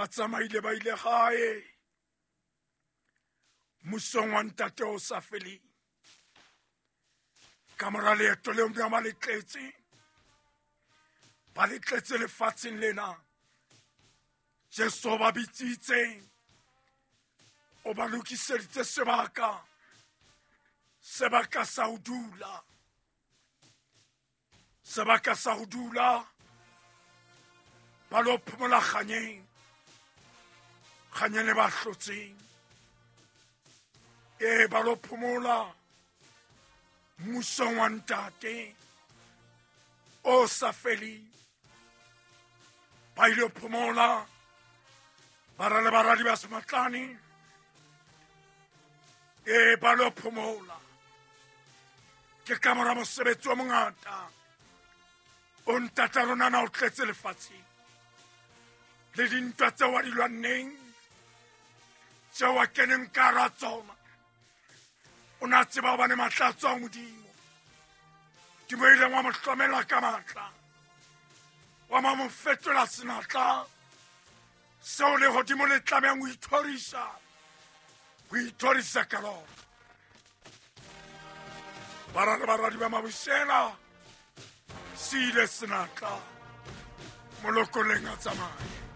Ba tsamaile ba ile gae mmusong wa Ntate o sa feleng. Ka mora leeto leo ba le tletse, ba le tletse lefatsheng lena. Jesu ba bitsitse, o ba lokiseditse sebaka, sebaka sa ho dula, sebaka sa ho dula, ba lo phomola kganyeng, kganyeng le ba hlotseng. Ee, ba lo phomola mmusong wa Ntate o sa feleng. Ba ile phomola bara le baradi ba Sematlane. Ee, ba lo phomola ke ka mora mosebetsi o mongata o ntata rona na o tletse lefatsheng le dintwa tseo a di lwanneng, tseo a keneng ka hara tsona. O ne a tseba hobane matla a tswang Modimo. Modimo ileng wa mo hlomela ka matla, wa mo fetola senatla seo lehodimo le tlamehang ho ithorisa, ho ithorisa ka lona. Bara le baradi ba Mabusela se ile senatla molokoleng a tsamaye.